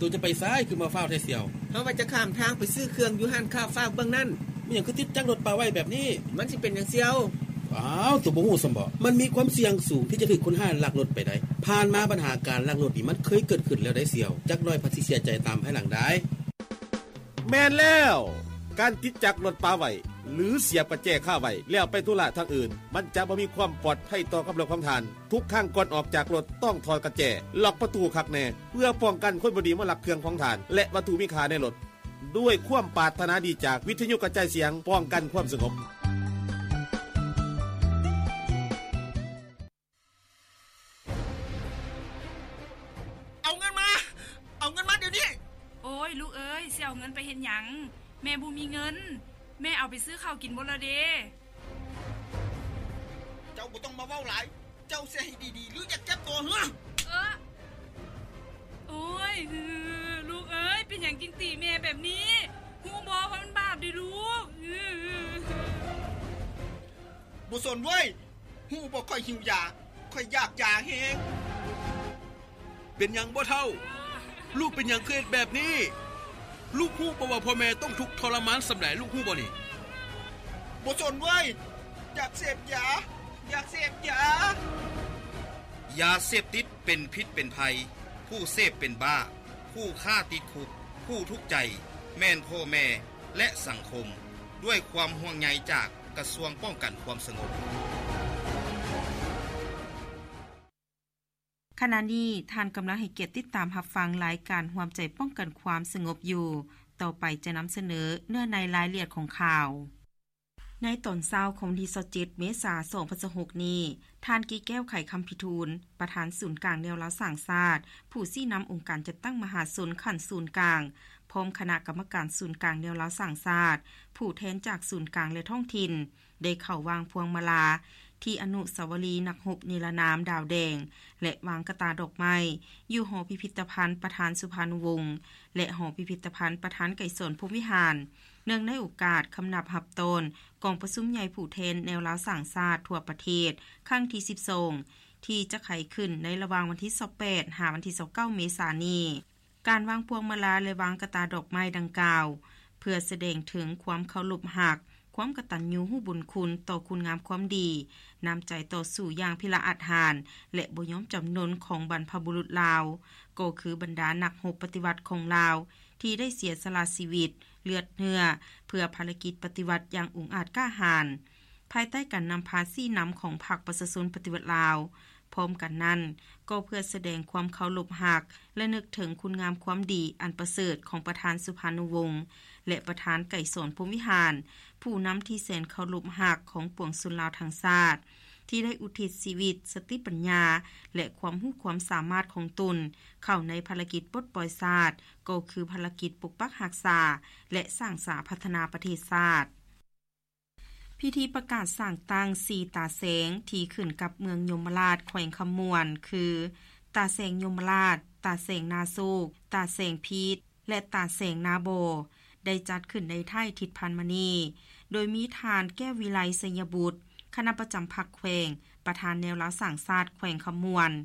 ໂຕຈະໄປໃສ ຄືມາຟ້າວແທ້ສ່ຽວ? ເຮົາວ່າຈະຂ້າມທາງໄປຊື້ເຄື່ອງຢູ່ຮ້ານຄ້າຟ້າວເບື້ອງນັ້ນ. ແມ່ນຫຍັງຄືຕິດຈັກລົດປາໄວ້ແບບນີ້? ມັນຊິເປັນຫຍັງສ່ຽວ? ອ້າວ ໂຕບໍ່ຮູ້ຊ້ຳບໍ? ມັນມີຄວາມສ່ຽງສູງທີ່ຈະຖືກຄົນຮ້າຍລັກລົດໄປໄດ້. ຜ່ານມາບັນຫາການລັກລົດນີ້ມັນເຄີຍເກີດຂຶ້ນແລ້ວໄດ໋ສ່ຽວ. ຈັກໜ້ອຍພັດຊິເສຍໃຈຕາມພາຍຫຼັງໄດ້. ແມ່ນແລ້ວ! ການຕິດຈັກລົດປາໄວ້ ຫຼື ສຽບກະແຈຄາໄວ້ ແລ້ວໄປທຸລະທາງອື່ນ ມັນຈະບໍ່ມີຄວາມປອດໄພຕໍ່ກັບລົດຂອງທ່ານ. ທຸກຄັ້ງກ່ອນອອກຈາກລົດ ຕ້ອງຖອດກະແຈ, ລັອກປະຕູຄັກແນ່ ເພື່ອປ້ອງກັນຄົນບໍ່ດີມາລັກເຄື່ອງຂອງທ່ານ ແລະ ວັດຖຸມີຄ່າໃນລົດ. ດ້ວຍຄວາມປາດຖະໜາດີຈາກວິທະຍຸກະຈາຍສຽງປ້ອງກັນຄວາມສະຫງົບ. ເອົາເງິນມາ! ເອົາເງິນມາດຽວນີ້! ໂອ້ຍ ລູກເອີຍ, ຊິເອົາເງິນໄປເຮັດຫຍັງ? ແມ່ບໍ່ມີເງິນ. ແມ່ເອົາໄປຊື້ເຂົ້າກິນໝົດແລ້ວເດ້. ເຈົ້າບໍ່ຕ້ອງມາເວົ້າຫຼາຍ. ເຈົ້າຊິໃຫ້ດີໆ ຫຼື ຢາກເຈັບຕົວເຫືອ? ເອີ! ໂອ້ຍ ລູກເອີຍ, ເປັນຫຍັງຈຶ່ງຕີແມ່ແບບນີ້? ຮູ້ບໍ່ວ່າມັນບາບເດ້ລູກ? ບໍ່ສົນເວີຍ. ຮູ້ບໍ່ ຂ້ອຍຫິວຢາ, ຂ້ອຍຢາກຢາແຮງ. ເປັນຫຍັງບໍ່ເຖົ້າ? ລູກເປັນຫຍັງຄືເຮັດແບບນີ້? ລູກຮູ້ບໍ່ວ່າພໍ່ແມ່ຕ້ອງທຸກທໍລະມານສ່ຳໃດ? ລູກຮູ້ບໍ່ນີ້? ບໍ່ສົນເວີຍ. ຢາກເສບຢາ, ຢາກເສບຢາ. ຢາເສບຕິດເປັນພິດເປັນໄພ, ຜູ້ເສບເປັນບ້າ, ຜູ້ຄ້າຕິດຄຸກ, ຜູ້ທຸກໃຈແມ່ນພໍ່ແມ່ ແລະ ສັງຄົມ. ດ້ວຍຄວາມຫ່ວງໃຍຈາກກະຊວງປ້ອງກັນຄວາມສະຫງົບ. ຂະນະນີ້ທ່ານກຳລັງໃຫ້ກຽດຕິດຕາມຮັບຟັງລາຍການຮ່ວມໃຈປ້ອງກັນຄວາມສະຫງົບຢູ່. ຕໍ່ໄປຈະນຳສະເໜີເນື້ອໃນລາຍລະອຽດຂອງຂ່າວ. ໃນຕອນເຊົ້າຂອງວັນທີຊາວເຈັດ ເມສາ ສອງພັນຊາວຫົກນີ້, ທ່ານ ກີແກ້ວ ໄຂຄຳພິທູນ, ປະທານສູນກາງແນວລາວສ້າງຊາດ, ຜູ້ຊີ້ນຳອົງການຈັດຕັ້ງມະຫາຊົນຂັ້ນສູນກາງ, ພ້ອມຄະນະກຳມະການສູນກາງແນວລາວສ້າງຊາດ, ຜູ້ແທນຈາກສູນກາງ ແລະ ທ້ອງຖິ່ນ, ໄດ້ເຂົ້າວາງພວງມາລາທີ່ອະນຸສາວະລີນັກຮົບນິລະນາມດາວແດງ ແລະ ວາງກະຕ່າດອກໄມ້ຢູ່ຫໍພິພິທະພັນປະທານສຸພານຸວົງ ແລະ ຫໍພິພິທະພັນປະທານໄກສອນ ພົມວິຫານ ເນື່ອງໃນໂອກາດຄຳນັບຮັບຕ້ອນກອງປະຊຸມໃຫຍ່ຜູ້ແທນແນວລາວສ້າງຊາດທົ່ວປະເທດຄັ້ງທີສິບສອງ ທີ່ຈະໄຂຂຶ້ນໃນລະຫວ່າງວັນທີຊາວແປດ ຫາວັນທີຊາວເກົ້າ ເມສານີ້. ການວາງພວງມາລາ ແລະ ວາງກະຕ່າດອກໄມ້ດັ່ງກ່າວ ເພື່ອສະແດງເຖິງຄວາມເຄົາລົບຮັກ, ຄວາມກະຕັນຍູຮູ້ບຸນຄຸນຕໍ່ຄຸນງາມຄວາມດີ, ນ້ຳໃຈຕໍ່ສູ້ຢ່າງພິລະອາດຫານ ແລະ ບໍ່ຍອມຈຳນົນຂອງບັນພະບຸລຸດລາວ, ກໍຄືບັນດານັກຮົບປະຕິວັດຂອງລາວ ທີ່ໄດ້ເສຍສະຫຼະຊີວິດ, ເລືອດເຫື່ອ ເພື່ອພາລະກິດປະຕິວັດຢ່າງອຸງອາດກ້າຫານ, ພາຍໃຕ້ການນຳພາຊີ້ນຳຂອງພັກປະຊາຊົນປະຕິວັດລາວ. ພ້ອມກັນນັ້ນ, ກໍເພື່ອສະແດງຄວາມເຄົາລົບຮັກ ແລະ ນຶກເຖິງຄຸນງາມຄວາມດີອັນປະເສີດຂອງປະທານສຸພານຸວົງ ແລະ ປະທານໄກສອນ ພົມວິຫານ, ຜູ້ນຳທີ່ແສນເຄົາລົບຮັກຂອງປວງຊົນລາວທັງຊາດ, ທີ່ໄດ້ອຸທິດຊີວິດ, ສະຕິປັນຍາ ແລະ ຄວາມຮູ້ຄວາມສາມາດຂອງຕົນເຂົ້າໃນພາລະກິດປົດປ່ອຍຊາດ, ກໍຄືພາລະກິດປົກປັກຮັກສາ ແລະ ສ້າງສາພັດທະນາປະເທດຊາດ. ພິທີປະກາດສ້າງຕັ້ງສີ່ຕາແສງທີ່ຂຶ້ນກັບເມືອງຍົມມະລາດ ແຂວງຄຳມ່ວນ ຄື ຕາແສງຍົມມະລາດ, ຕາແສງນາໂຊກ, ຕາແສງພີດ ແລະ ຕາແສງນາບໍ່ ໄດ້ຈັດຂຶ້ນໃນທ້າຍທິດຜ່ານມານີ້, ໂດຍມີທ່ານ ແກ້ວວິໄລ ໄຊຍະບຸດ, ຄະນະປະຈຳພັກແຂວງ, ປະທານແນວລາວສ້າງຊາດແຂວງຄຳມ່ວນ,